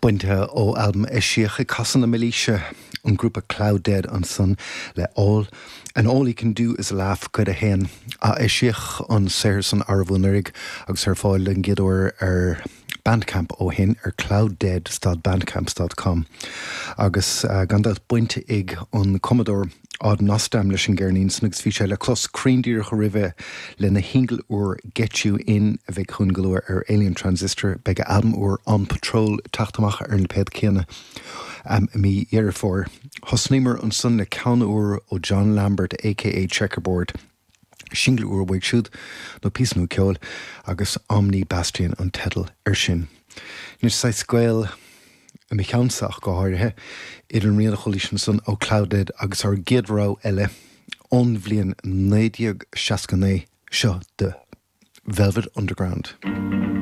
Bainte ó albam a eisíodh ag casadh na mílaoise, an grúpa cLOUDDEAD ansan le All And All He Can Do Is Laugh, Cuid 1. Eisíodh an saothar san arbh anuraidh agus ar fáil den gcéad uair ar Bandcamp ó shin ar clouddead stad bandcamp stad com. Agus gan dabht baint ag an cumadóir Odd Nosdam leis an gceirnín san agus bhí sé le clos cruinn díreach roimhe lena shingil úr Get You In a bheidh chugainn go luath ar Alien Transistor. Beidh a albam úr On Patrol ag teacht amach ar an lipéad céanna i mí Dheireadh Fómhair. Thosnaíomar ansan le ceann úr ó John Lambert aka Checkerboard. Singil úr uaidh siúd, nó píosa nua ceoil, agus Omni Bastion an teideal air sin. Anois, saghas gaol, i mo cheannsa ach go háirithe, idir an rian a chualaís ansan ó cLOUDDEAD agus ár gcéad rogha eile ón bhliain 1969, seo The Velvet Underground.